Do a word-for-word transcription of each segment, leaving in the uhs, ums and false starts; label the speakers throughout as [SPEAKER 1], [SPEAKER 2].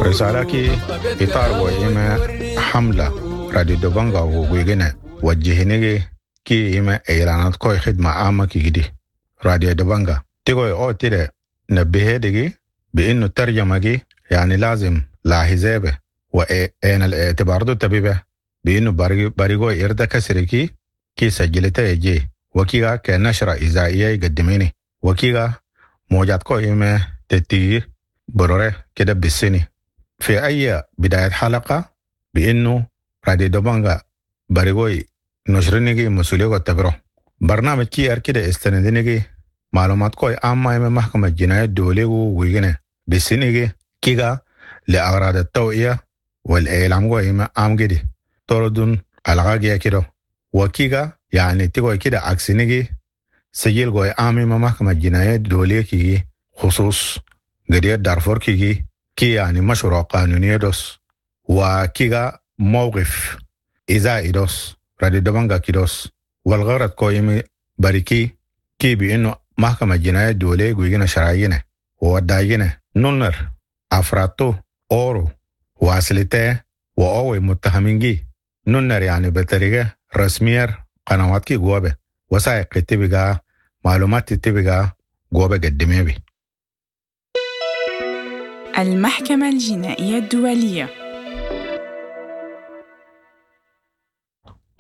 [SPEAKER 1] رسالة إطار وإما حملة راديو دبنجا وويجنا وجهنجي كي إما إعلانات كوي خدمة عامة كي دي راديو دبنجا تيغوي أو تيري نبهي دي بإنه الترجمة جي يعني لازم لاحظه وإن الاعتبار دو تبيبه بإنه بريغو إردا كسركي كي سجلته يجي وكيغا كنشرة إذاعية يقدميني وكيغا موجات كو إما تتي برورة كده بالسنة في أي بداية حلقة بإنه راديو دبنجا بريغوي نشرنيجي مسؤولية تبرو برنامج كي أر كده استندنيجي معلومات كوي عامة إما محكمة الجناية الدولية ويجنة بالسنة كيغا لأغراض التوعية والإعلام كوي إما عام جدي طردون الغاقية كده وكيغا يعني تيغوي كده عكسنيجي سجل كوي عام إما محكمة الجناية الدولية كيجي خصوص قضية دارفور كيجي كي يعني مشروع قانوني دوس وكيغا موقف إذا دوس رادي دبنجا كيدوس والغرض كويمي بريكي كي بإنه محكمة الجناية الدولية قوينا شرعينا ووداينا نونر أفراتو أورو واسلتة وأوي متهمين جي نونر يعني بطريقة رسمية قنوات كي جوابه وثائق تبقى معلومات تبقى جوابه قدمي بي.
[SPEAKER 2] المحكمة الجنائية الدولية.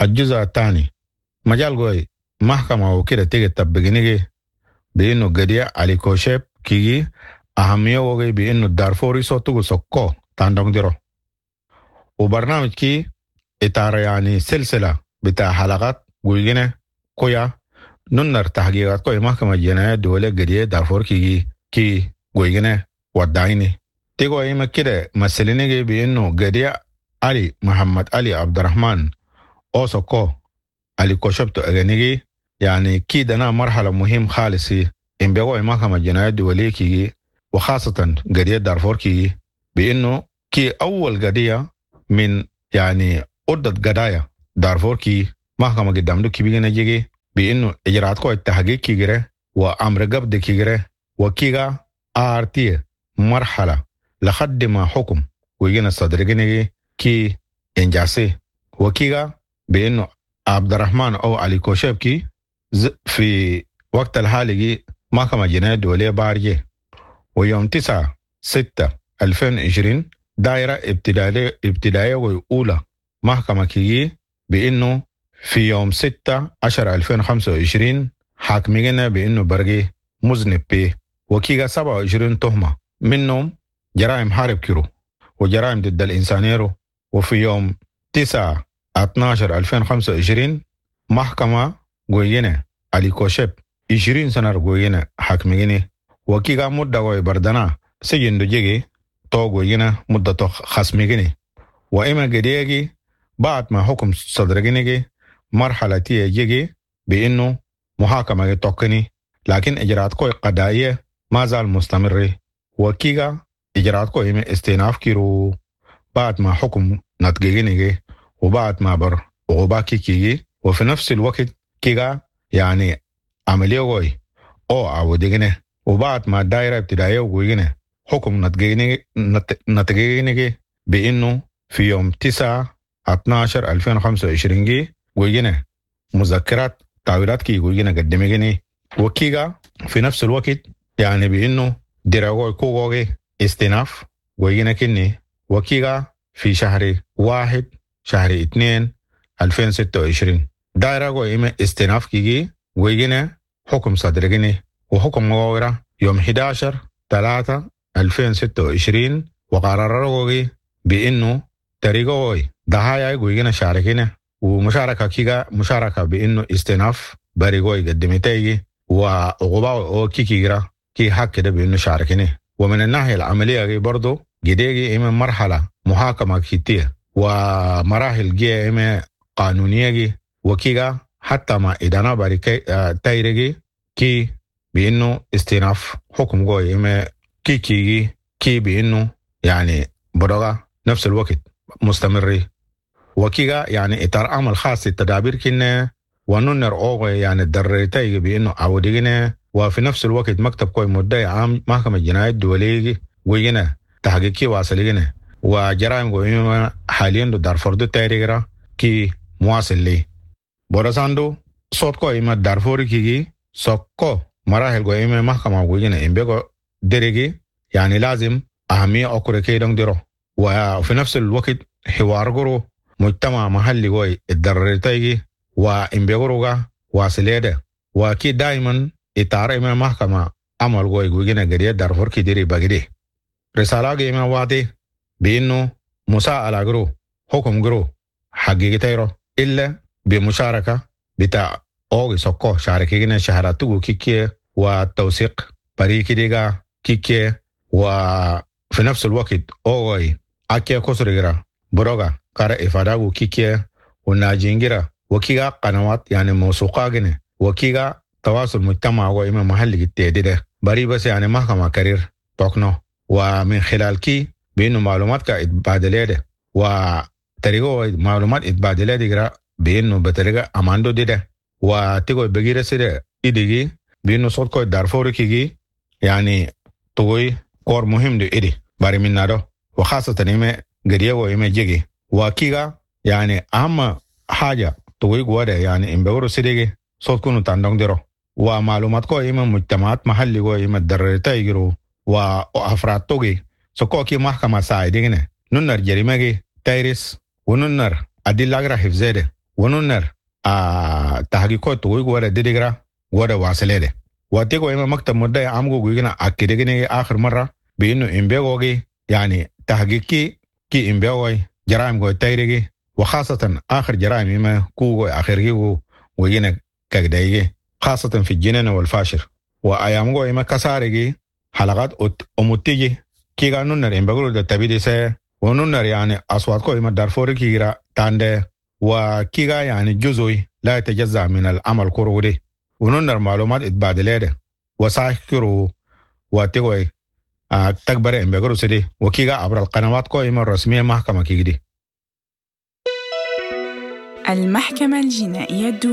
[SPEAKER 1] الجزء الثاني مجال قوي محكمة وكده تيجي تبقينيجي بإنه قدية علي كوشيب كيجي أهمية وغي بإنه الدارفوري صوتو سكو تاندون ديرو وبرنامج كي إطار يعني سلسلة بتاع حلقات قويجينة كويا ننر تحقيقات كوي محكمة جناية الدولية قدية دارفور كيجي كي قويجينة ودعيني تيجو إما كده مسلينيجي بإنه قدية علي محمد علي عبد الرحمن أو سكو علي كوشبتو أغنيجي يعني كي دنا مرحلة مهم خالص إن بيقوي محكمة الجناية الدولية كي وخاصة قضية دارفور كي بإنه كي أول قضية من يعني عدة قضايا دارفور كي محكمة قدام دو كي بيجينا جيجي بإنه إجراءات كو التحقيق كي جري وأمر قبض كي جري وكيغا آر تي مرحلة لحد ما حكم ويجينا صدرجيني كي إنجاسي وكيغا بإنه عبد الرحمن أو علي كوشبكي في وقت الحالي محكمة جناية الدولية بارجي ويوم تسعة ستة ألفين وعشرين دائرة ابتدائية ابتدائية وأولى محكمة كيجي بإنه في يوم ستة عشر ألفين وخمسة وعشرين حاكمينا بإنه برجي مذنب بيه وكيغا سبعة وعشرين تهمة منهم جرائم حرب كيرو وجرائم ضد الإنسانية. وفي يوم تسعة اثناشر ألفين وخمسة وعشرين محكمة قوينة علي كوشب عشرين سنة قوينة حاكميني وكيغا مدة قوي بردنا سجن دو جيجي تو قوينة مدة تو خصميني. وإما قديجي بعد ما حكم صدرجيني مرحلة تي جيجي بإنه محاكمة توكني لكن إجراءات كوي قضائية ما زال مستمر. وكيغا إجراءات كوي إما استئناف كيرو بعد ما حكم نتجيني وبعد ما بر وغباكي كيجي. وفي نفس الوقت كيغا يعني عملية غوي أو عودينه وبعد ما الدائرة ابتدائية وغوينه حكم نتجيني نتجيني بإنه في يوم تسعة اثناشر ألفين وخمسة وعشرين جي غوينه مذكرات تعويضات كي غوينه قدميني. وكيغا في نفس الوقت يعني بإنه دراغوي كوغوغي استئناف غوينه كني. وكيغا في شهر واحد شهر اثنين ألفين وستة وعشرين دائرة قوي استئناف كيجي ويجينا حكم صدرجيني وحكم مغاورة يوم أحد عشر ثلاثة ألفين وستة وعشرين وقرار قوي بإنه طريقة قوي ضحايا قوينا شاركينا ومشاركة كيغا مشاركة بإنه استئناف بري قوي قدمتي وعقوبة كي كيغرا كي حق كده بإنه شاركيني. ومن الناحية العملية برضو جديجي إما مرحلة محاكمة كتير ومراحل جي إما قانونية جي وكيغا حتى ما إدانا باري تايرجي كي بإنه استئناف حكم قوي إما كي كي كي بإنه يعني برغا نفس الوقت مستمر. وكيغا يعني إطار عمل خاص التدابير كنا وننر أوغي يعني الدرتي بإنه عودينا. وفي نفس الوقت مكتب كوي مدعي عام محكمة الجناية الدولية ويجنا تحقيق كي واصل وجرائم قوي حاليا دو دارفور دو تايريغرا كي مواصل لي بورساندو صوت كو إما دارفور كيجي سوكو مراحل قوي إما محكمة ويجنا إمبيكو دريجي يعني لازم أهمية أكوري كي دون ديرو. وفي نفس الوقت حوار قرو مجتمع محلي قوي الدررتيجي وإمبيغروغا واصليده وكي دايما إطار إما محكمة عمل قوي ويجنا قرية دارفور كي ديري بغدي رسالة إما وادي بإنه مساءلة قرو حكم قرو حقيقة إلا بمشاركة بتاع أوغي سكو شاركينا شهراتو كيكي وتوثيق بريكي ديغا كيكي. وفي نفس الوقت أوغي أكي كسرغرا بروغا كارا إفاداغو كيكي وناجينجرا وكيغا قنوات يعني موثوقة جنة وكيغا تواصل مجتمع وإما محلي التهديد بري بس يعني محكمة كرير توكنو. ومن خلال كي بإنه معلومات كإتبادلية ده وطريقة معلومات إتبادلية دي بإنه بطريقة أماندو دي ده وتيجو بغير سيده إديجي بإنه صوت كوي دارفوري كيجي يعني تقوي كور مهم دو إدي باري من نادو وخاصة إما قرية وإما جيجي وكيغا يعني أهم حاجة تقوي قوة يعني إن بورو سيديجي صوت كونو تاندون ديرو ومعلومات كو إما مجتمعات محلي كو إما دررتا يجرو وأفراد توجي سكو كي محكمة ساعدين ننر جريمة تايرس وننر أدلة أجرا حفظه وننر آه تحقيقات تقوي قوة ديديجرا قوة واصلة واتيكو إما مكتب مدعي عمغو قوينا أكيدجني آخر مرة بإنه إمبيغوغي يعني تحقيقي كي إمبيغوي جرائم قوي تايرجي وخاصة آخر جرائم إما كوغو آخر وينا كجدايجي خاصة في الجنين والفاشر وأيامغو إما كسارجي حلقات أمتيجي كي قانون إمبيغو ده تبيدي سه وننر يعني أصوات كو إما دارفوري كيرا تاند وكيغا يعني جزء لا يتجزأ من العمل كورودي وننر معلومات اتبادلة وساكرو وتقوي آه تكبر إمبيغو سيدي وكيغا عبر القنوات كو إما الرسمية محكمة كيغدي.
[SPEAKER 2] المحكمة الجنائية الدولية.